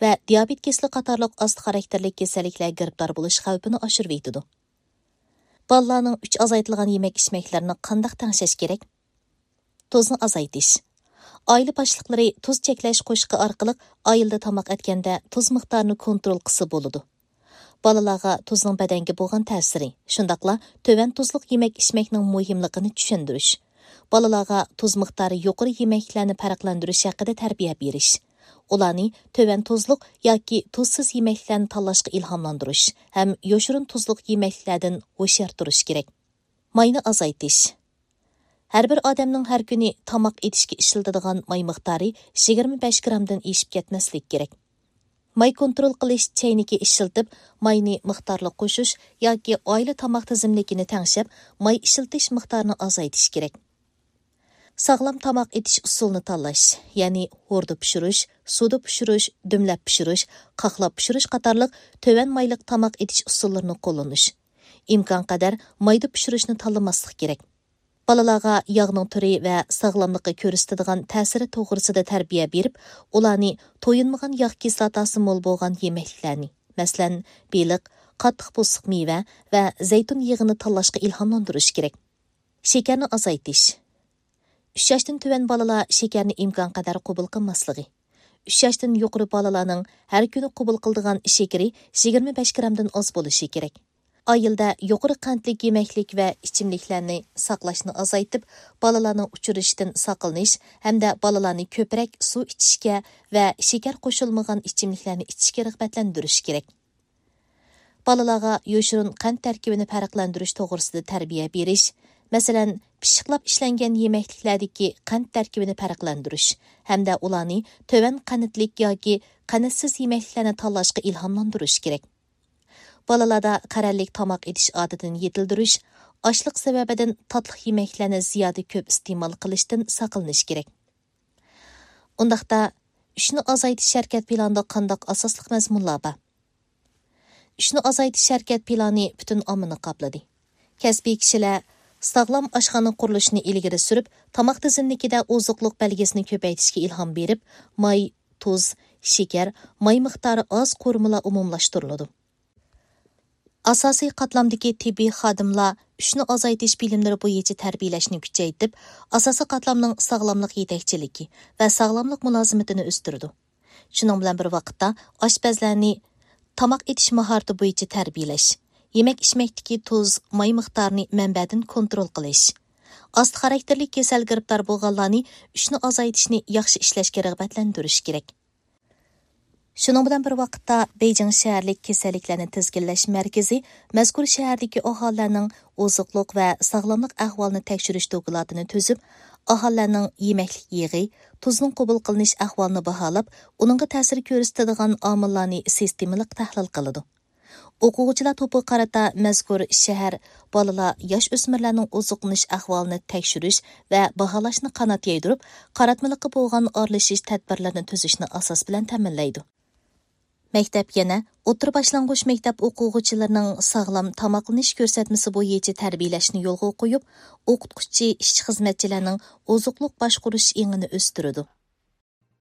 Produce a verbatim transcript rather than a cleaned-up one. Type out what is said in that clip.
ۋە دىيابېت كېسىلى قاتارلىق ئاستا خاراكتېرلىك كېسەللىكلەرگە گىرىپتار بولۇش خەۋپىنى ئاشۇرۇۋېتىدۇ. بالىلارنىڭ ئۈچ ئازايتىلغان يېمەك-ئىچمەكلىرىنى قانداق تەڭشەش كېرەك؟ تۇزنى ئازايتىش. ئائىلە باشلىقلىرى تۇز چەكلەش قوشۇقى ئارقىلىق ئائىلىدە تاماق ئەتكەندە تۇز مىقدارىنى كونترول قىلسا بولىدۇ. بالىلارغا تۇزنىڭ بەدەنگە بولغان تەسىرى، شۇنداقلا تۆۋەن تۇزلۇق يېمەك-ئىچمەكنىڭ مۇھىملىقىنى چۈشەندۈرۈش. بالىلارغا تۇز مىقدارى يۇقىرى يېمەكلەرنى پەرقلەندۈرۈش ھەققىدە تەربىيە بېرىش. ئۇلارنى تۆۋەن تۇزلۇق ياكى تۇزسىز يېمەكلەرنى تاللاشقا ئىلھاملاندۇرۇش ھەم يوشۇرۇن تۇزلۇق يېمەكلەردىن ھوشيار تۇرۇش كېرەك. ماينى ئازايتىش. ھەر بىر ئادەمنىڭ ھەر كۈنى تاماق ئېتىشكە ئىشلىتىدىغان ماي مىقدارى يىگىرمە بەش گرامدىن ئېشىپ كەتمەسلىكى كېرەك. ماي كونترول قىلىش چەينىكى ئىشلىتىپ، ماينى مىقدارلىق قوشۇش ياكى ئائىلە تاماق تىزىملىكىنى تەڭشەپ، ماي ئىشلىتىش مىقدارىنى ئازايتىش كېرەك. ساغلام تاماق ئېتىش ئۇسۇلىنى تاللاش، يەنى ھوردا پىشۇرۇش، سۇدا پىشۇرۇش، دۈملەپ پىشۇرۇش، قاقلاپ پىشۇرۇش قاتارلىق تۆۋەن مايلىق تاماق ئېتىش ئۇسۇللىرىنى قوللىنىش. ئىمكانقەدەر مايدا پىشۇرۇشنى تاللىماسلىق كېرەك. بالىلارغا ياغنىڭ تۈرى ۋە ساغلاملىققا كۆرسىتىدىغان تەسىرى توغرىسىدا تەربىيە بېرىپ، ئۇلارنى تويۇنمىغان ياغ كىسلاتاسى مول بولغان يېمەكلىكلەرنى، مەسىلەن، بېلىق، قاتتىق پوستلۇق مېۋە ۋە زەيتۇن يېغىنى تاللاشقا ئىلھاملاندۇرۇش كېرەك. شېكەرنى ئازايتىش. ئۈچ ياشتىن تۆۋەن بالىلار شېكەرنى ئىمكانقەدەر قوبۇل قىلماسلىقى. ئۈچ ياشتىن يۇقىرى بالىلارنىڭ ھەر كۈنى قوبۇل قىلىدىغان شېكىرى يىگىرمە بەش گرامدىن ئاز بولۇشى كېرەك. ئائىلىدە يۇقىرى قەنتلىك يېمەكلىك ۋە ئىچىملىكلەرنى ساقلاشنى ئازايتىپ، بالىلارنىڭ ئۇچۇرۇشىدىن ساقلىنىش ھەمدە بالىلارنى كۆپرەك سۇ ئىچىشكە ۋە شېكەر قوشۇلمىغان ئىچىملىكلەرنى ئىچىشكە رىغبەتلەندۈرۈش كېرەك. بالىلارغا يوشۇرۇن قەنت تەركىبىنى پەرقلەندۈرۈش توغرىسىدا تەربىيە بېرىش، مەسىلەن، پىششىقلاپ ئىشلەنگەن يېمەكلىكلەردىكى قەنت تەركىبىنى پەرقلەندۈرۈش ھەمدە ئۇلارنى تۆۋەن قەنتلىك ياكى قەنتسىز يېمەكلىكلەرنى تاللاشقا ئىلھاملاندۇرۇش كېرەك. بالىلاردا قەرەللىك تاماق ئېتىش ئادىتىنى يېتىلدۈرۈش، ئاچلىق سەۋەبىدىن تاتلىق يېمەكلەرنى زىيادە كۆپ ئىستېمال قىلىشتىن ساقلىنىش كېرەك. ئۇنداقتا، ئۈچنى ئازايتىش ھەرىكەت پىلانىدا قانداق ئاساسلىق مەزمۇنلار بار؟ ئۈچنى ئازايتىش ھەرىكەت پىلانى پۈتۈن ئاممىنى قاپلىدى. كەسپىي كىشىلەر ساغلام ئاشخانا قۇرۇلۇشىنى ئىلگىرى سۈرۈپ، تاماق تىزىملىكىدە ئوزۇقلۇق بەلگىسىنى كۆپەيتىشكە ئىلھام بېرىپ، ماي، تۇز، شېكەر، ماي مىقدارى ئاز قورۇمىلار ئومۇملاشتۇرۇلىدۇ. ئاساسىي قاتلامدىكى تېببىي خادىملار ئۈچنى ئازايتىش بىلىملىرى بويىچە تەربىيەلەشنى كۈچەيتىپ، ئاساسىي قاتلامنىڭ ساغلاملىق يېتەكچىلىكى ۋە ساغلاملىق مۇلازىمىتىنى ئۆستۈرىدۇ. شۇنىڭ بىلەن بىر ۋاقىتتا، ئاشپەزلەرنى تاماق ئېتىش ماھارىتى بويىچە تەربىيەلەش، يېمەك-ئىچمەكتىكى تۇز، ماي مىقدارىنى مەنبەدىن كونترول قىلىش، ئاستا خاراكتېرلىك كېسەل گىرىپتار بولغانلارنى ئۈچنى ئازايتىشنى ياخشى ئىشلەشكە رىغبەتلەندۈرۈش كېرەك. شۇنىڭ بىلەن بىر ۋاقىتتا، بېيجىڭ شەھەرلىك كېسەللىكلەرنى تىزگىنلەش مەركىزى مەزكۇر شەھەردىكى ئاھالىلەرنىڭ ئوزۇقلۇق ۋە ساغلاملىق ئەھۋالىنى تەكشۈرۈش دوكلاتىنى تۈزۈپ، ئاھالىلەرنىڭ يېمەكلىك يېغى، تۇزنىڭ قوبۇل قىلىنىش ئەھۋالىنى باھالاپ، ئۇنىڭغا تەسىر كۆرسىتىدىغان ئامىللارنى سىستېمىلىق تەھلىل قىلىدۇ. ئوقۇغۇچىلار توپىغا قارىتا مەزكۇر شەھەر بالىلار، ياش ئۆسمۈرلەرنىڭ ئوزۇقلىنىش ئەھۋالىنى تەكشۈرۈش ۋە باھالاشنى قانات يايدۇرۇپ، قاراتمىلىققا بولغان ئارىلىشىش تەدبىرلىرىنى تۈزۈشنى ئاساس بىلەن تەمىنلەيدۇ. مەكتەپ يەنە ئوتتۇرا باشلانغۇچ مەكتەپ ئوقۇغۇچىلىرىنىڭ ساغلام تاماقلىنىش كۆرسەتمىسى بويىچە تەربىيەلەشنى يولغا قويۇپ، ئوقۇتقۇچى، ئىشچى خىزمەتچىلەرنىڭ ئوزۇقلۇق باشقۇرۇش ئېڭىنى ئۆستۈرىدۇ.